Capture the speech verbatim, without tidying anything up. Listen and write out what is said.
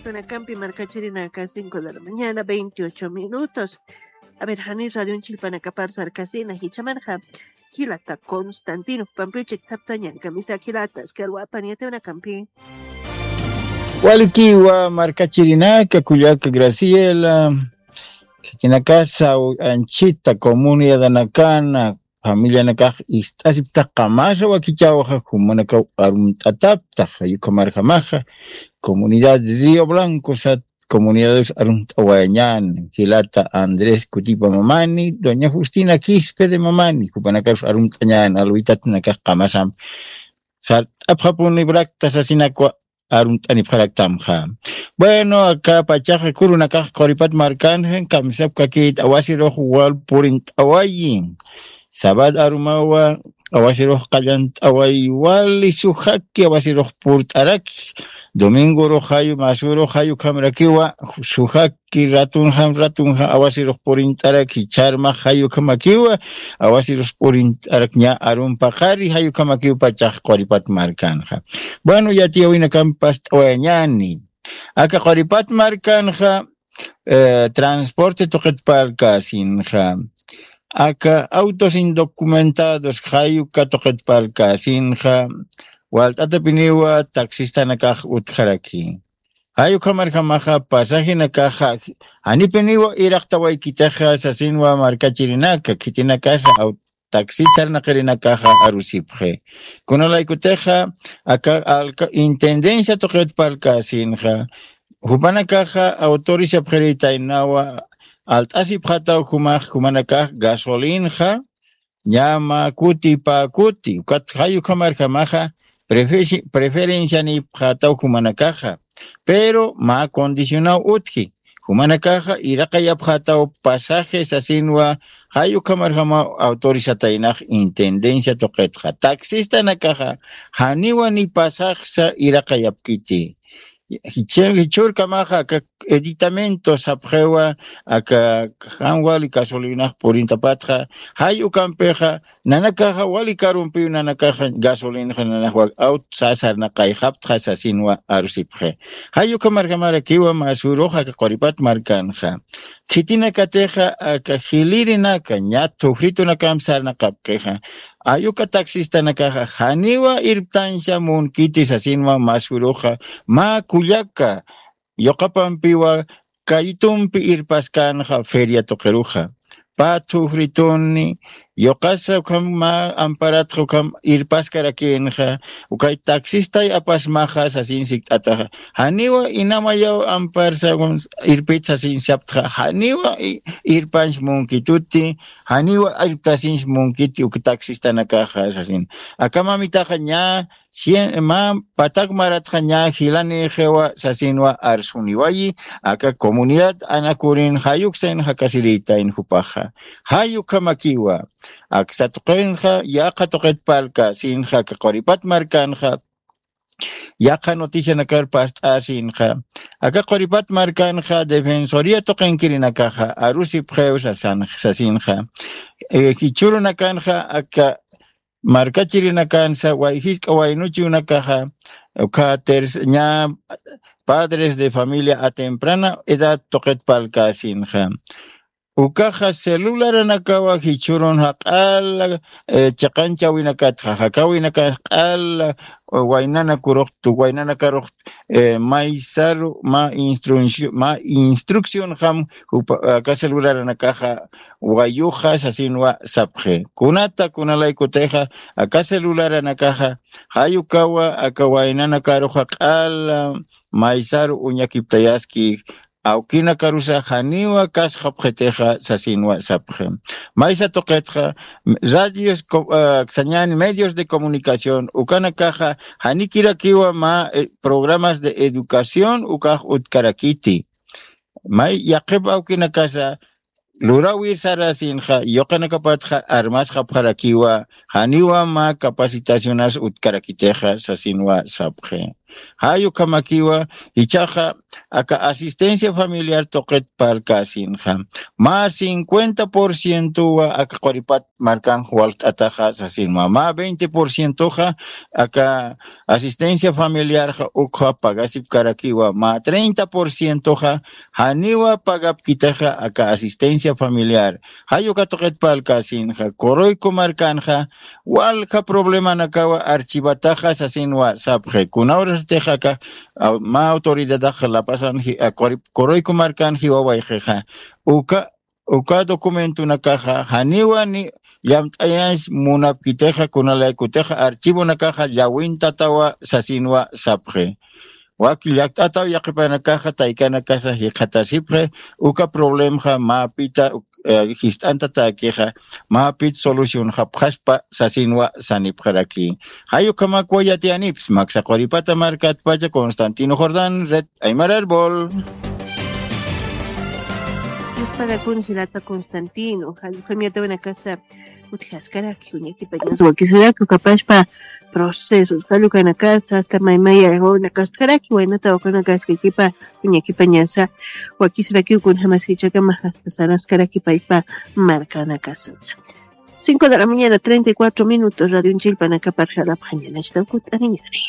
Tunakampi markachirinaka cinco de la mañana, veintiocho minutos. A ver, jani radio chilpanakapar sarkasina, jichamarja jilata Constantino pampiuchik taptañan kamisa jilata, askarwapan yatewnakampi. Walikiwa markachirinaka, kullaka Graciela, khitinakasa anchita comunidadanakana, familianakax ist'asiptax qamasa wakichawxa, jumanakaw arumt'ataptax, jayukamarjamaxa, comunidad Río Blanco sat, comunidades arumt'awayañan, jilata Andrés Cutipa Mamani, doña Justina Quispe de Mamani, jupanakarus arumt'añan, alwitatunakax qamasam sart'apxapuni brakta sasinakwa, arumt'anipxaraktamxa. Bueno, aka pachaxa kurunakax Quripat markanxa, kamisapkakit awasirux wal purint'awayi. Sabat arumawa awasirux qallant'awayi, wali sujaki awasirux purt'araki. Domingorux jayu, masurux jayu khamrakiwa, sujaki ratunxam ratunxa awasirux purint'araki, charmax jayu khamakiwa, awasirux purint'arak ña arumpaqari jayu khamakiw pachax Quripat markanxa. Bueno, yatiyawinakampas t'awayañani. Aka Quripat markanxa, eh, transporte tuqit parlkäsinxa. Aka autos indocumentados jayuka tuqit parlkäsinxa. Walt'atapiniwa taxistanakax utjaraki. Jayukamarjamaxa pasajenakaxa, janipiniwa iraqtawaykitaxa sasinwa markachirinaka, khitinakasa au-, taxi sarnaqirinakaxa arusipxi. Kunalaykutixa, aka alca-, intendencia tuqit parlkäsinxa, jupanakaxa autorizapxiritaynawa, alt'asipxataw jumax, jumanakax gasolinxa, ñama kuti pä kuti, ukat jayukamarjamaxa, prefe-, preferencianipxataw jumanakaxa, pero mä condicionaw utji, jumanakaxa iraqayapxataw pasaje sasinwa, jayukamarjamaw autorizataynax intendencia tuqitxa, taxistanakaxa, janiwa ni pasaxsa iraqayapkiti. Jichhur, jichhurkamaxa aka editamento sapxiwa, aka jan wali gasolinax purintapatxa, jay ukampixa, nanakaxa wali karumpiw nanakaxa gasolinaxa nanaxwa aut sasarnaqayxaptxa sasinwa arusipxi. Jay ukamarjamarakiwa masurux aka Quripat markanxa. Khitinakatixa aka jilirinaka, ña thujritunakam sarnaqapkixa. Ayuka taxistanakaxa, janiwa irptansa munkiti sasinwa masuruxa, mä kullaka, yuqapampiwa, kaytumpi irpaskanxa feria tuqiruxa. Pä thujrituni, yuqasa ukham mä amparatxa ukham irpaskarakinxa, ukay taxistay apasmaxa sasin sikt'ataxa. Janiwa inamayaw amparsa irpit sasin saptxa, janiwa i-, irpanch munkituti, janiwa irptasinch munkiti uk taxistanakaxa sasin. Aka mamitaxa ña cien, mä patak maratxa ña jilanixiwa sasinwa arsuniwayi, aka comunidad Anacurin jayuksayn jakasiritayn jupaxa. Jayukamakiwa, aksa tuqinxa, yaqha tuqit parlkäsinxa, aka Quripat markanxa, yaqha noticianakar past'asinxa. Aka Quripat markanxa, defensoría tuqinkirinakaxa, arusipxiw sasan-, sasinxa. Eh, jichhurunakanxa, aka markachirinakansa, way jisk'a waynuchiwnakaxa, uka ters-, ña padres de familia a temprana edad tuqit parlkäsinxa. Ukaxa celularanakawa jichhürun jaq'ala, eh, chiqanchawinakatxa, jakawinakas q'ala, eh, waynanakurux, tu-, waynanakarux, eh, maysaru, mä instruccio-, mä instruccionxam, jupa-, aka celularanakaxa, wayuxa sasinwa sapxi. Kunata, kunalaykutixa, aka celularanakaxa, jayukawa, aka waynanakaruxa q'ala, maysaru uñakiptayaski, awkinakarusa janiwa kasxapxitixa sasinwa sapxi. Maysa tuqitxa, radios co-, ah, sañani medios de comunicación, ukanakaxa, janikirakiwa mä, eh, programas de educación, ukax utkarakiti. May yaqhip awkinakasa, lurawir sarasinxa, yuqanakapatxa, armasxapxarakiwa, janiwa mä capacitacionas utkarakitixa, sasinwa sapxi. Jay ukhamakiwa, jichhaxa, aka asistencia familiar tuqit parlkäsinxa, mä cincuenta por cientowa aka quripat markanx walt'ataxa sasinwa, mä veinte por cientoxa aka asistencia familiarxa ukxa pagasipkarakiwa, mä treinta por cientoxa janiwa pagapkitaxa aka asistencia familiar. Jay uka tuqit parlkäsinxa, Coroico markanxa walja problemanakawa archivataxa sasinwa sapxi. Kuna urastix aka mä autoridadax lapasan Coroico markan jiwawayxixa, uka uka documentonakaxa janiwa ni llamt'ayañs munapkitixa, kunalaykutixa archivonakaxa llawintatawa sasinwa sapxi. Wak llakt'ataw yaqhipanakaxa taykanakasa jikxatasipxi uka problemxa, mapita jist'antatäkixa, mapit solucionxapxaspa sasinwa sanipxaraki. Jay ukhamakwa yatiyanipis maksa quripata markatpacha. Constantino Jordán, red Aymar Árbol. Yupagakun jilata Constantino, jallq'u jamiatawanakasa utjaskaraki uñakipañasa wakisiraki ukapashpa procesos jallukanakasa hasta maymaya wawnakaskaraki waynata wakanakaskakipa uñakipañasa wakisiraki ukun jamas jichakama hasta saraskaraki paypa markanakasasa. Cinco de la mañana, treinta y cuatro minutos, radio unchilpanakaparjalapxañanachta ukut'aniñari.